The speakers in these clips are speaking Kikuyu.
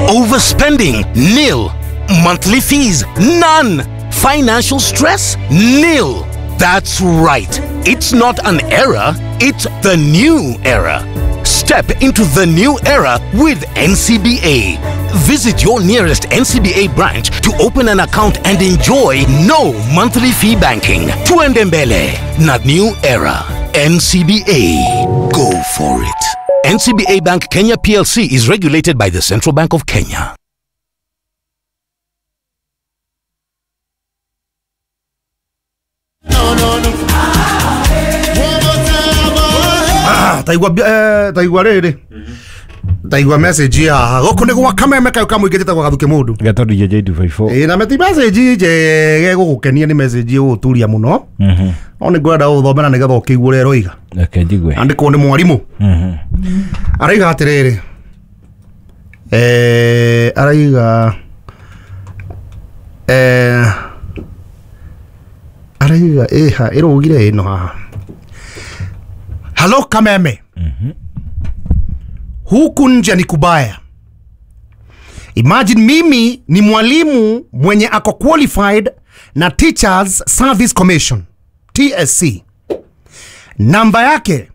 Overspending? Nil. Monthly fees? None. Financial stress? Nil. That's right. It's not an era, it's the new era. Step into the new era with NCBA. Visit your nearest NCBA branch to open an account and enjoy no monthly fee banking. Tuende mbele na new era. NCBA. Go for it. NCBA Bank Kenya PLC is regulated by the Central Bank of Kenya. Taigua taigua rĩrĩ taigua message haha gũkũ nĩ gwa kameme kayo kamũingĩ njĩtagwo Gathuke mũndũ Gatondũ JJ254. Ĩĩ na meti message njege gũgũkenia nĩ message ĩgũgũturia mũno. No nĩ ngwenda gũthomera nĩgetha ũkĩigue ũrĩa ĩroiga. Reke njigue. Andĩkwo nĩ mwarimũ. Araiga atĩrĩrĩ, araiga araiga ĩha ĩrũgire ĩno haha. Halo Kameme. Huku nje ni kubaya. Imagine mimi ni mwalimu mwenye ako qualified na Teachers Service Commission TSC. Namba yake,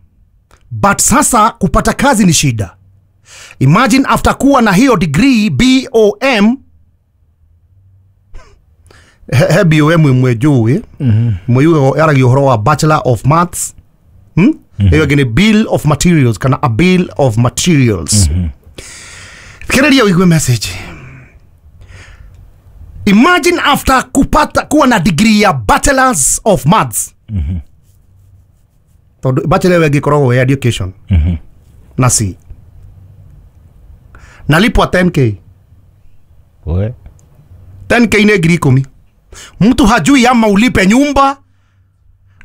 but sasa kupata kazi ni shida. Imagine after kuwa na hiyo degree BOM. He BOM imwe juu mwe yaragia ũhoro wa Bachelor of Maths. Hiyo ĩngĩ nĩ Bill of Materials kana a Bill of Materials. Thikĩrĩria ũigue message. Imagine after kupata kuwa na degree ya Bachelors of Maths. Tondũ bachelor ĩyo ĩngĩkoragwo ya education. Na C. Nalipwa 10K. We. 10K nĩ 10,000. Mtu hajui ama ulipe nyumba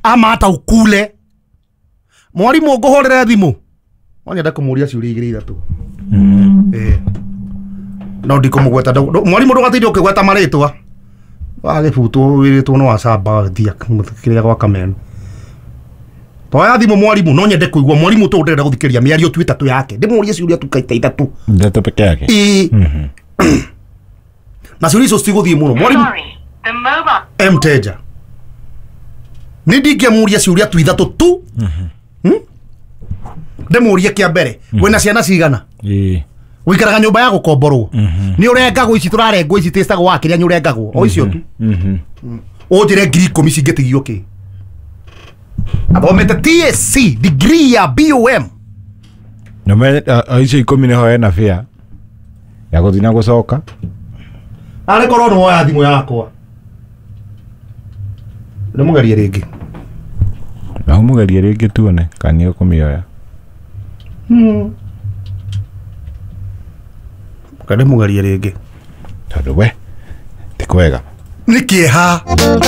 ama hata ukule. Mwarimu ngũhũrĩre thimũ. No nyende kũmũria ciũria igĩrĩ ithatũ. No ndikũmũgweta. Mwarimu ndũgatinde ũkĩgweta marĩtwa. Wagĩbutwo wĩrĩtwo no wacamba thia kĩrĩa gwa Kameme. Toya thimũ mwarimu, no nyende kũigua mwarimu tũ ndĩrenda gũthikĩrĩria mĩario tu ĩtatũ yake. Ndĩmũrie ciũria tu kaita ithatũ. Ithatũ peke yake. Ĩĩ. Na ciũria icio citigũthiĩ mũno. Mwarimu. Mteja. Nĩ ndingĩamũria ciũria tu ithatũ tu. Ndĩmũrie kĩa mbere, wĩna ciana cigana? Wĩikaraga nyũmba ya gũkomborwo. Nĩ ũrengagwo ici tũrarengwo ici tĩcagwo wa kĩrĩa nĩ ũrengagwo. O icio tu. Ũnjĩre 10,000 cingĩtigio kĩ? Athomete TSC degree ya BOM. Na me icio 10 nĩho ena fare ya gũthiĩ na gũcoka. Arĩ korwo nĩ woya thimũ yakwa. Ndĩmũgerie rĩngĩ. Na ũmũgerie rĩngĩ tuone kana nĩ ũkũmĩoya. Ndĩmũgerie rĩngĩ. Tondũ we ti kwega. Nĩ kĩeha.